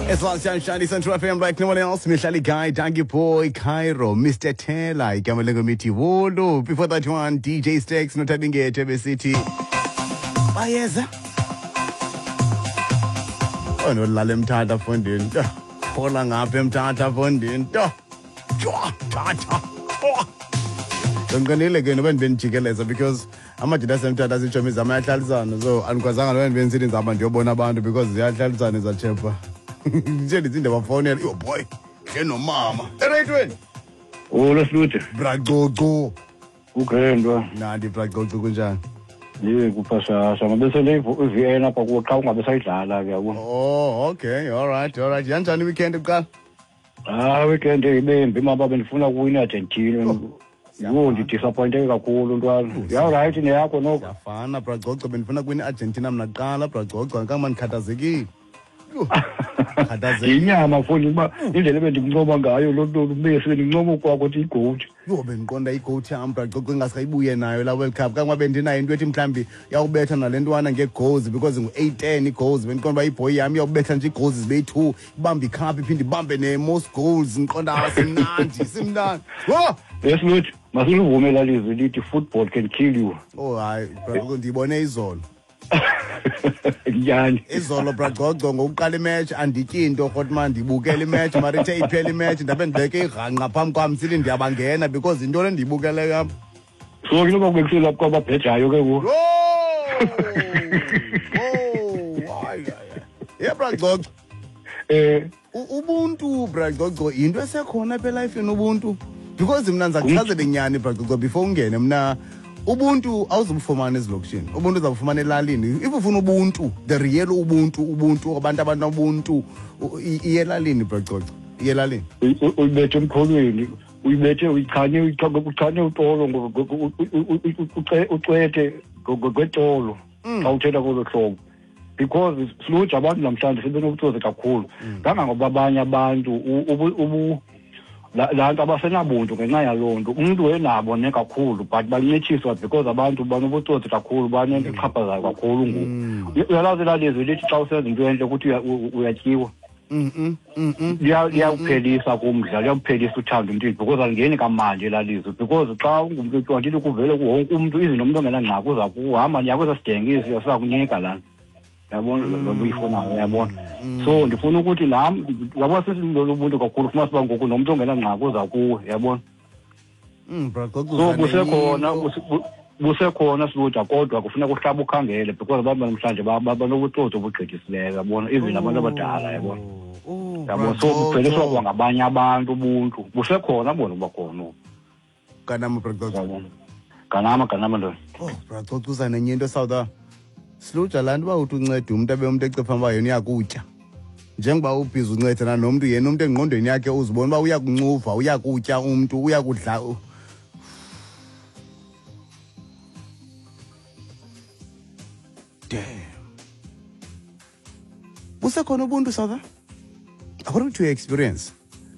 It's Last Sunshine, Central FM, like no one else. Mihlali Guy, Donkey Boy, Cairo, Mr. Taylor, igama lengomiti Wolo. Before that one, DJ Stacks, Notabinge, City. Bayeza. Oh, no, lale mthatha fondini. Phola ngapha emthatha fondini. Tjwa, thatha. Ndinqenile ke noba ndibe because amajita asemthatha asitshomi zam ayahlalisana, so andikwazanga noba ndibe ndisithi ndizawuba ndiyobona abantu because ziyahlalisana ezatshepha nje. Ndithi ndibafowunela, yo boy, hle nomama ereyitweni. Olo Sluthe. Bracoco. Kugrandwa. Nandi bracoco, kunjani? Ye kuphashasha mabe sele i-VN apha kuwo qha ungabe sayidlala ke, yabo. Oh, okay, all right. Yanjani iweekend kuqala? Ah, weekend ibembi maba, bendifuna kuwina Argentina. Yho, ndidisappointeke kakhulu ntwana. Ya right, neyakho noko. Siyafana bracoco, bendifuna kuwina i-Argentina mna kuqala bracoco, kangaba ndikhathazekile. Yho, khathazekile. Yinyama mfondini, uba indlela ebendikuncoma ngayo lo Messi, bendincoma ukwakho ukuthi iGOAT. Yho, bendiqonda iGOAT yam bracoco ingasayibuye nayo laa World Cup, kangoba bendinayo into ethi mhlawumbi iyawubetha nale ntwana ngee-goals because ngu-8-10 ii-goals. Bendiqonda uba ibhoyi yam iyawubetha nje ii-goals zibe yi-2, ibambe icup, iphinde ibambe ne-most goals. Ndiqonda, ah, simnandi, simnandi. Yho! Esiluthi masiluvume laa lizwi lithi football can kill you. Oh hayi bracoco, ndiyibone izolo. Nyani. Izolo bracoco, ngokuqala imatch andityi into rhotman, ndibukela imatch, mara ithe iphela imatch ndabe ndibeke irhanqa phambi kwam sithi ndiyabangena because yinto le ndiyibukeleyo apha. So ke noba kubekusela kwababhejayo ke ngoku. Oh, hayi, hayi. Ye bracoco. Ubuntu bracoco yinto esekhona apha elifini, ubuntu, because mna ndiza kuchazela inyani bracoco before ungene. Mna ubuntu awuzubufumana ezilokishini, ubuntu uzawufumana elalini. If ufuna ubuntu, the real ubuntu, ubuntu abantu abanobuntu, iye elalini bracoco, iye elalini. Uyibethe emkholweni, uyibethe, uyichane, uchane utolo, ucwethe ngwetolo xa uthetha kolo hlobo, because silutsha abantu namhlanje sebenobutsotsi kakhulu kangangoba abanye abantu laa nto abasenabuntu ngenxa yaloo nto. Umntu wenabo ne kakhulu, but bancitshiswa because abantu banobutsotsi kakhulu, banento exhaphazayo kakhulu ngoku. Uyalazi elaa lizwi lithi xa usenza into entle ukuthi uyatyiwa? Liyawuphelisa kumdla, liyawuphelisa uthando emntwini because alingeni kamandi elaa lizwi, because xa ungumntu otyiwa ndithi kuvele kuwonke umntu izinto, umntu ongenangxaki uza kuhamba niya kwesa sidenge esi siza kunika lana, yabona, loo nto uyifunayo, yabona. So ndifuna ukuthi nam, yabona, sesilobuntu kakhulu, fumanisa uba ngoku nomntu ongenangxaki uza kuwe, yabona. Bracoco. So busekhona, busekhona silutsha, kodwa kufuneka uhlaba ukhangele because abantu namhlanje banobutsotsi obugqithisileyo, yabona, even abantu abadala, yabona, yabona. So bupheliswa kwangabanye abantu ubuntu. Busekhona bona uba khona. Ganama bracoco. Yabona, ganama, ganama ndoda. Oh bracoco, uza nenye into south silutsha, laa nto uba uthi unceda umntu, abe umntu ecipha uba yena uyakutya, njengoba ubhizi uncedana nomntu, yena umntu engqondweni yakhe uzibona uba uyakuncuva, uyakutya umntu, uyakudla. Damn, busekhona ubuntu south, according to your experience,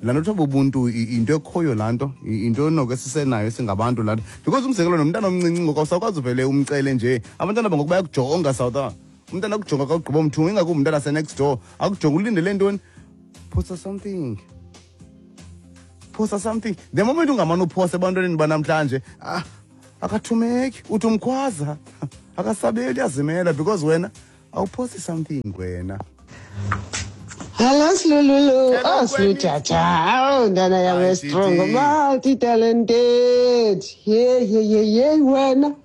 laa nto kuthiwa bubuntu, into ekhoyo laa nto, into noko esisenayo singabantu laa nto, because umzekelo nomntana omncinci ngoku awusakwazi uvele umcele nje. Abantwana bangoku bayakujonga south. Umntana akujonga xa ugqiba umthunga, ingakumbi umntana ase-next door, akujonga ulindele ntoni? Phosa something, phosa something. The moment ungamane uphosa ebantwaneni banamhlanje, ah, akathumeki, uthi umkhwaza akasabeli, uyazimela because wena awuphosi something wena. Hello Silululu. Hello, Oh Silujaja. Oh ndana yam Hi, strong, Titi. Multi talented. Ye ye ye ye wena.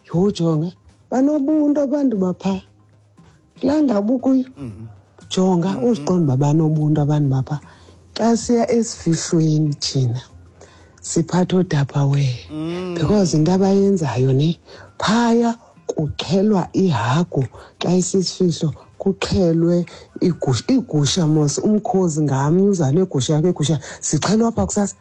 Yho, jonga. Banobuntu abantu bapha. Kulaa ndawo ukuyo. Jonga uziqonda uba banobuntu abantu bapha. Xa siya esifihlweni thina siphatha ootupperware because into abayenzayo ne phaya, kuxhelwa ihagu xa isisifihlo, kuxhelwe igusha, iigusha mos, umkhozi ngamnye uza negusha yakho, igusha zixhelwa phaa kusasa.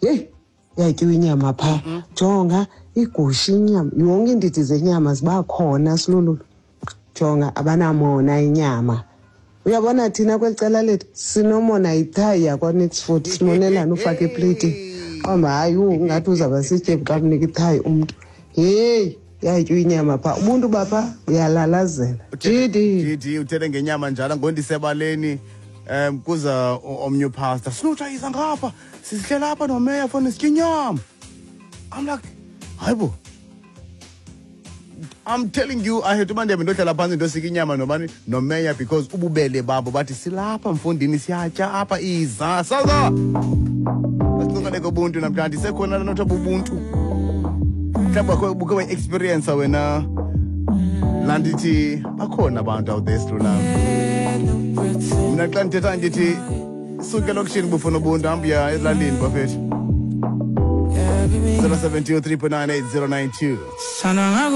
Yeyi, yatyiwa inyama phaa. Jonga igusha, inyama, yonke iindidi zenyama ziba khona silululu. Jonga, abanamona inyama. Uyabona thina kweli cala lethu sinomona, yithayi yakwa-Niks Food, simonelana ufake epleyitini, qomba hayi, ungathi uzawuba sityebi xa kunika ithayi umntu. Heyi, yatyiwa inyama phaa, ubuntu bapha buyalalazela. Jidi. Jidi, uthethe ngenyama njalo, ngondisebaleni. Kuza omnye upastor, sinotshayisa ngapha, sisihlela apha nomeya fona sitya inyama. I'm like, hayibo, I'm telling you, I had uba ndihambe ndohlala phantsi ndosika inyama nobani, nomeya, because ububele babo bathi silapha mfundini, siyatya apha, iza saza asincokole kobuntu namhlanje. Isekhona laa nto bubuntu? Mhlawumbi buke wayi-experience wena laa nto ithi bakhona abantu out there sidlula. Mna xa ndithetha ndithi suke elokishini bufuna ubuntu, hamba uya ezilalini bafethu. 072 3.98092. Sana.